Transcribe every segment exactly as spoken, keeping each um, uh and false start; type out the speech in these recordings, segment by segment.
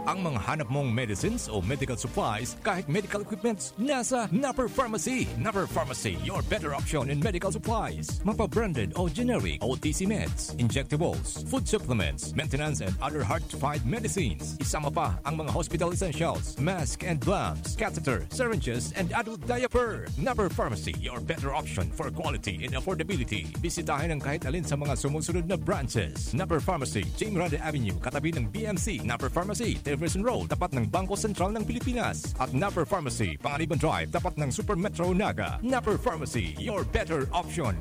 Ang mga hanap mong medicines o medical supplies, kahit medical equipments, nasa Napper Pharmacy. Napper Pharmacy, your better option in medical supplies. Mapa-branded o generic, O T C meds, injectables, food supplements, maintenance and other hard-to-find medicines. Isama pa ang mga hospital essentials, mask and gloves, catheter, syringes, and adult diaper. Napper Pharmacy, your better option for quality and affordability. Bisitahin ang kahit alin sa mga sumusunod na branches. Napper Pharmacy, Jing Grande Avenue, katabi ng B M C. Napper Pharmacy, Tilbury Road, tapat ng Bangko Sentral ng Pilipinas. At Napper Pharmacy, Panganiban Drive, tapat ng Super Metro Naga. Napper Pharmacy, your better option.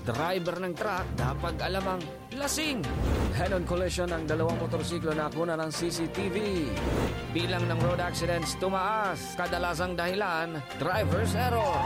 Driver ng truck, dapat alamang lasing. Head-on collision ng dalawang motorsiklo na kuna ng C C T V. Bilang ng road accidents tumaas. Kadalasang dahilan, driver's error.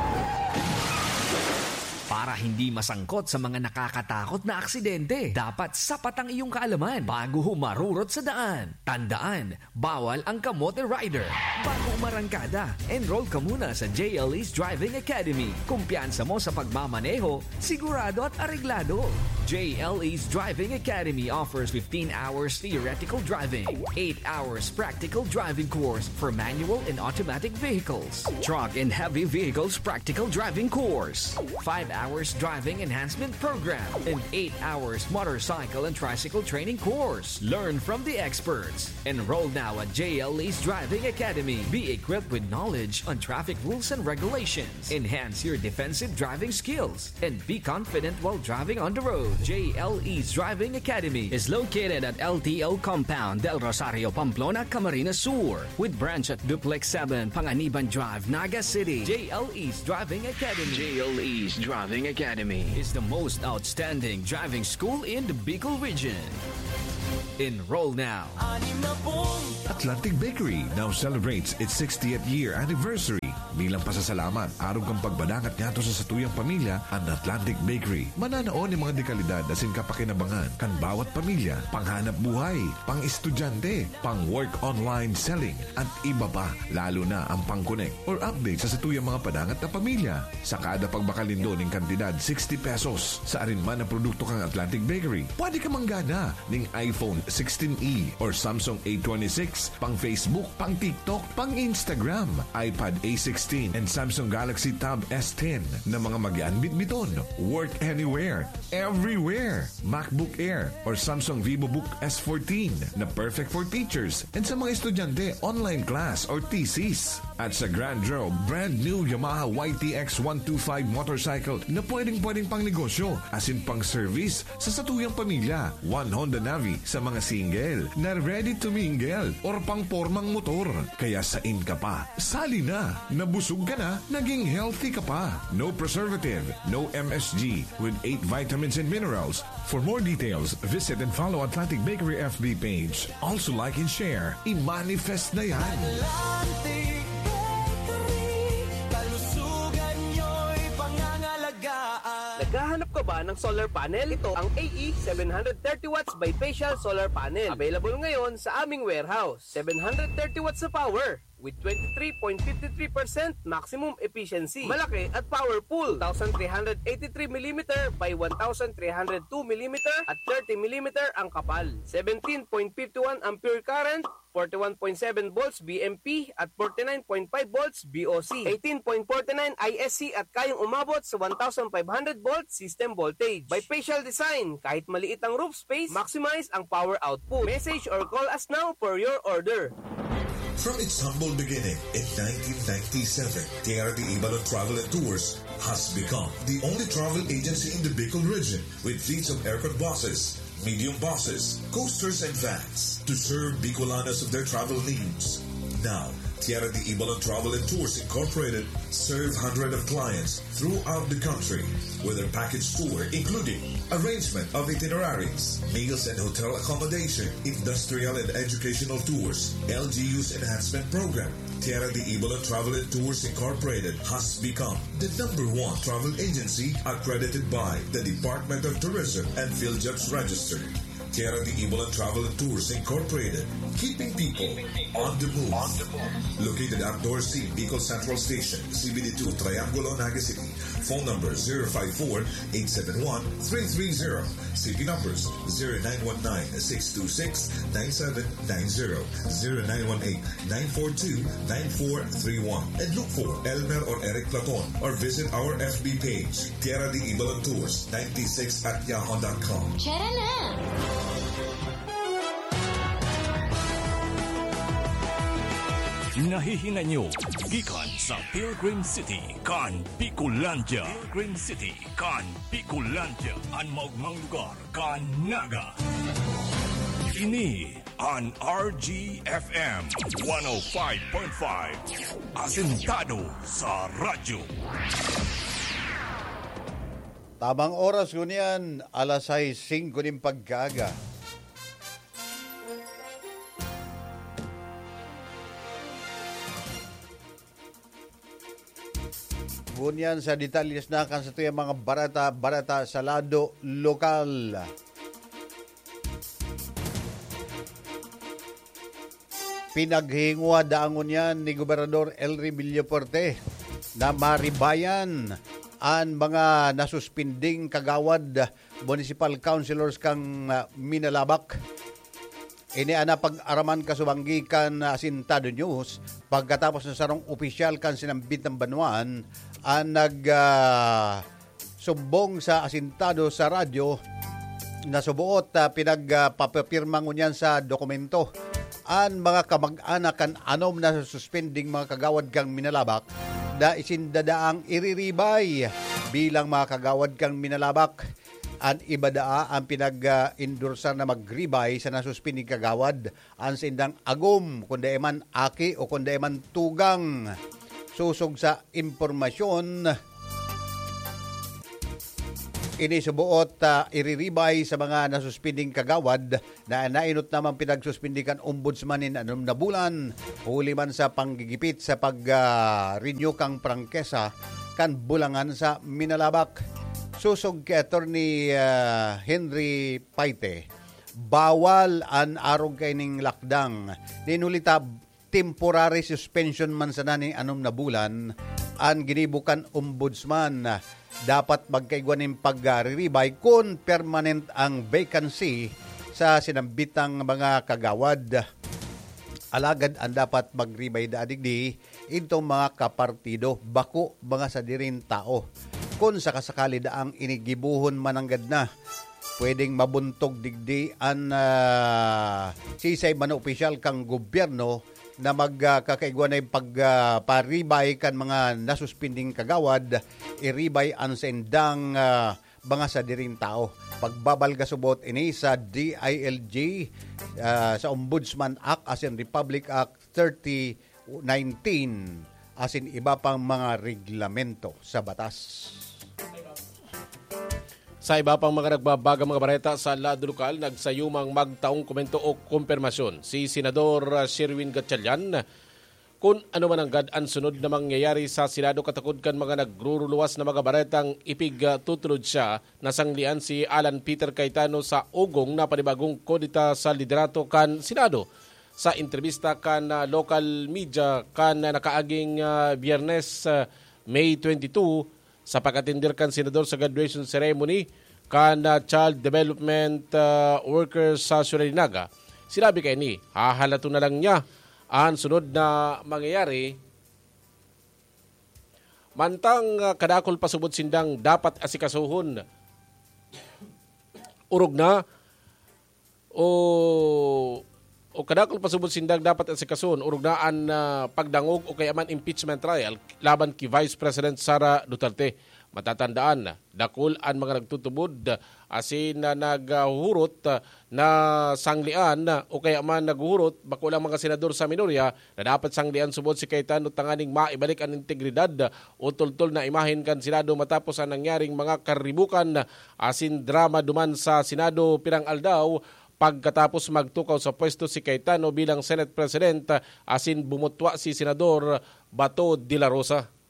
Para hindi masangkot sa mga nakakatakot na aksidente, dapat sapat ang iyong kaalaman bago humarurot sa daan. Tandaan, bawal ang kamote rider. Bago umarangkada, enroll ka muna sa J L E's Driving Academy. Kumpiyansa mo sa pagmamaneho, sigurado at areglado. J L E's Driving Academy offers fifteen hours theoretical driving, eight hours practical driving course for manual and automatic vehicles, truck and heavy vehicles practical driving course, five hours driving enhancement program, and eight hours motorcycle and tricycle training course. Learn from the experts. Enroll now at J L E's Driving Academy. Be equipped with knowledge on traffic rules and regulations. Enhance your defensive driving skills and be confident while driving on the road. J L E's Driving Academy is located at L T O Compound, Del Rosario, Pamplona, Camarines Sur, with branch at Duplex seven, Panganiban Drive, Naga City. J L E's Driving Academy. J L E's Driving Academy is the most outstanding driving school in the Bicol region. Enroll now. Atlantic Bakery now celebrates its sixtieth year anniversary. Bilang pasasalamat, arog kan pagpadangat ngadto sa satuyang pamilya, an Atlantic Bakery mananao nin mga dekalidad asin kapakinabangan kan bawat pamilya, panghanap buhay, pang-estudyante, pang-work online selling, at iba pa, lalo na ang pang-connect or update sa satuyang mga padangat na pamilya. Sa kada pagbakal nindo nin kantidad sixty pesos sa arin man na produkto kan Atlantic Bakery, pwede ka manggana ning iPhone sixteen E or Samsung A twenty-six, pang Facebook, pang TikTok, pang Instagram, iPad A sixteen, and Samsung Galaxy Tab S ten na mga magian bitbiton. Work anywhere, everywhere. MacBook Air or Samsung VivoBook S fourteen na perfect for teachers and sa mga estudyante, online class or thesis. At sa Grand Draw, brand new Yamaha Y T X one two five motorcycle na pwedeng-pwedeng pang negosyo asin pang service sa satuyang pamilya. One Honda Navi sa mga single na ready to mingle or pang pormang motor. Kaya sain ka pa? Sali na! Nabusog ka na, naging healthy ka pa. No preservative, no M S G, with eight vitamins and minerals. For more details, visit and follow Atlantic Bakery F B page. Also like and share. I-manifest na yan! Atlantic Bakery, kalusugan nyo'y pangangalagaan. Naghahanap ka ba ng solar panel? Ito ang A E seven hundred thirty watts bifacial solar panel. Available ngayon sa aming warehouse. Seven hundred thirty watts na power with twenty-three point fifty-three percent maximum efficiency. Malaki at powerful. Two thousand three hundred eighty-three millimeter by one thousand three hundred two millimeter at thirty millimeter ang kapal. Seventeen point fifty-one ampere current, forty-one point seven volts V M P at forty-nine point five volts V O C. Eighteen point forty-nine I S C at kayang umabot sa one thousand five hundred volt system voltage. Bifacial design, kahit maliit ang roof space, maximize ang power output. Message or call us now for your order. From its humble beginning in nineteen ninety-seven, Tierra de Ibalon Travel and Tours has become the only travel agency in the Bicol region with fleets of aircon buses, medium buses, coasters, and vans to serve Bicolanos of their travel needs. Now, Tierra de Ibalon Travel and Tours Incorporated serve hundreds of clients throughout the country with their package tour, including arrangement of itineraries, meals and hotel accommodation, industrial and educational tours, L G U's enhancement program. Tierra de Ibalon Travel and Tours Incorporated has become the number one travel agency accredited by the Department of Tourism and PhilJobs Register. Kera de Ibalan Travel and Tours Incorporated, keeping people on the move. Located at Dorsey, Bicol Central Station, C B D two, Triangulo, Naga City. Phone number zero five four, eight seven one, three three zero. C P numbers zero nine one nine, six two six, nine seven nine zero, zero nine one eight, nine four two, nine four three one. And look for Elmer or Eric Platon or visit our F B page, Kera de Ibalan Tours ninety-six at yahoo dot com. Tara na! Nahihinay nyo gikan sa Pilgrim City kan Bicolandia. Pilgrim City kan Bicolandia, an maogmang lugar kan Naga. Ini an R G F M one oh five point five, asentado sa radyo. Tamang oras ngunyan, alas sais singko nin pagkaaga. Ngunyan sa detalyes na kan satuyang mga bareta, bareta sa lado lokal. Pinaghingwa daa ngunyan ni Gobernador Elry Villafuerte na maribayan an mga nasuspinding kagawad, municipal councilors kan, ah, Minalabac. Ini an napag-araman kasubanggi kan, ah, Asintado News pagkatapos na sarong opisyal kan sinambit na banwaan an nag, ah, sumbong sa Asintado sa radyo na suboot, ah, pinag, ah, papipirma ngunyan sa dokumento an mga kamag-anak kan anom na suspending mga kagawad kan Minalabac na isinda daang iriribay bilang mga kagawad kan Minalabac. An iba daa an pinag-endorsar na magribay sa nasuspending kagawad, an saindang agom, kun dai man aki o kun dai man tugang. Sosog sa impormasyon, ini suboot, ah, iriribay sa mga nasuspending kagawad na nainot naman pinagsuspindi kan ombudsman nin anom na bulan, huli man sa panggigipit sa pag, ah, renew kan prangkesa kan bulangan sa Minalabac. Sosog ki Attorney, ah, Henry Paite, bawal an arog kaining lakdang. Nin huli ta, temporary suspension man sana nin anom na bulan an ginibo kan ombudsman. Dapat magkaigwa nin pagriribay kun permanent ang vacancy sa sinambitang mga kagawad. Alagad an dapat magribay daa digdi, idtong mga kapartido, bako mga sadiring tao. Kun sakasakali daang inigibohon mananggad na, pwedeng mabuntog digdi an, ah, sisay man na opisyal kan gobyerno na mag, ah, kakaigwa na yung pag, ah, paribay kan mga nasuspinding kagawad, iribay an saindang, ah, mga sadiring tao. Pagbabalga subot ini sa D I L G, ah, sa Ombudsman Act asin Republic Act thirty nineteen asin iba pang mga reglamento sa batas. Sa iba pang mga nagbabagang mga bareta sa lado lokal, nagsayumang magtaong komento o kompermasyon si Senador, ah, Sherwin Gatchalian kun ano mananggad an sunod na mangyayari sa Senado katakod kan mga nagruruluwas na mga baretang ipigtutulod siya na sanglian si Alan Peter Cayetano sa ugong na panibagong kudeta sa liderato kan Senado. Sa entrebista kan, ah, local media kan, ah, nakaaging, ah, Biyernes, ah, May twenty-two, sa pag-atender kan senador sa graduation ceremony kan, ah, child development, ah, workers sa Ciudad de Naga, sinabi kaini, hahalaton na lang niya an sunod na mangyayari. Mantang, ah, kadakul pa subot sindang dapat asikasuhon, orog na o, o kadakul pa subot sindang dapat asikasuhon, orog na an, ah, pagdangog o kaya man impeachment trial laban ki Vice President Sara Duterte. Matatandaan, dakul an mga nagtutubod asin na naghuhurot na sanglian o kaya man naghuhurot, bako lang mga senador sa minorya, na dapat sanglian subot si Cayetano tanganing maibalik an integridad o tultol na imahen kan Senado matapos ang nangyaring mga karibukan asin drama duman sa Senado pirang aldaw pagkatapos magtukaw sa pwesto si Cayetano bilang Senate President asin bumutwa si Senador Bato de la Rosa.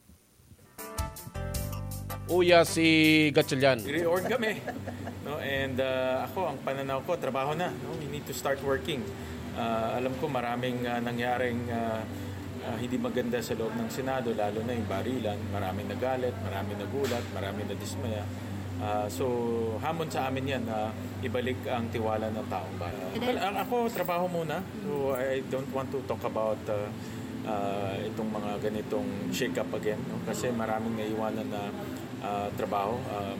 Uya si Gatchalian. Reorg kami. No? And uh, ako, ang pananaw ko, trabaho na. No? We need to start working. Uh, alam ko maraming uh, nangyaring uh, uh, hindi maganda sa loob ng Senado, lalo na yung barilan. Maraming nagalit, maraming nagulat, maraming nadismaya. Uh, so, hamon sa amin yan na ibalik ang tiwala ng taong bayan. Well, ang ako, trabaho muna. So, I don't want to talk about uh, uh, itong mga ganitong shake-up again. No? Kasi maraming naiwanan na uh, trabaho. Um,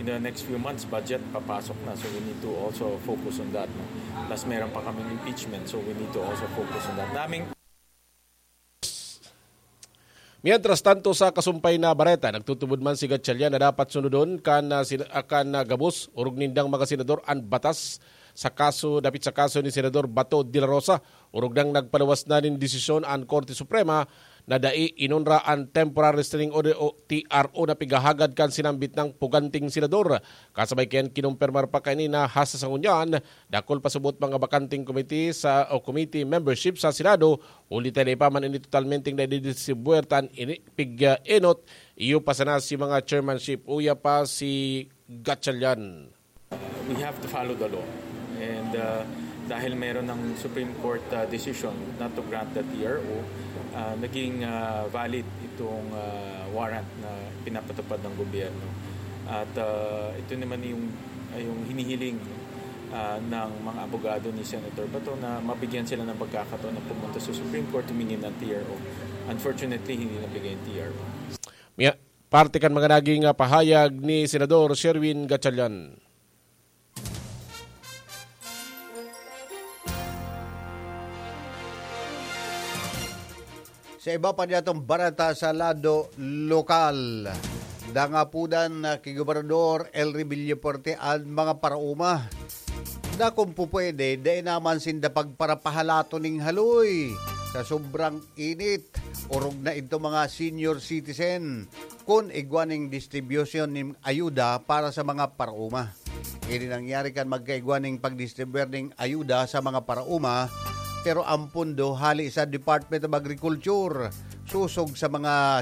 in the next few months, budget papasok na. So we need to also focus on that. No? Plus meron pa kaming impeachment. So we need to also focus on that. Daming Mientras tanto, sa kasumpay na bareta, nagtutubod man si Gatchalian na dapat sunodon kan, ah, sin- ah, kan ah, gabos orog nindang mga senador an batas sa kaso, dapit sa kaso ni Senador Bato de la Rosa, orog nang nagpaluwas na nin desisyon an Korte Suprema na dai inonra an Temporary Restraining Order o T R O na pighahagad kan sinambit nang puganting senador. Kasabay kayan, kinumpirmar pa kaini na hasta sa ngunyan, dakul pa subot mga bakanting komite sa o committee membership sa Senado, huli ta dai pa man ini totalmenteng nadidistribuer ta an ini pig-enot, iyo pa sana si mga chairmanship, uya pa si Gatchalian. We have to follow the law. And uh, dahil meron ng Supreme Court uh, decision not to grant the T R O, uh, naging uh, valid itong uh, warrant na pinapatupad ng gobyerno. At uh, ito naman yung, yung hinihiling uh, ng mga abogado ni Senator Bato na mabigyan sila ng pagkakataon na pumunta sa Supreme Court humingi ng T R O. Unfortunately, hindi nabigay yung T R O. Miya, parte kan mga naging ah, pahayag ni Senador Sherwin Gatchalian. Sa iba pa niyatong bareta sa lado lokal, dangapudan na ki Gobernador Elry Villafuerte an mga paraoma. Dakong pupwede, dai naman sinda pagparapahalato ning haloy sa sobrang init. Orog na idto mga senior citizen kun igwa ning distribution nin ayuda para sa mga paraoma. Ini nangyari kan magkaigwa ning pagdistribuer ning ayuda sa mga paraoma, pero ang pondo hali sa Department of Agriculture, susog sa mga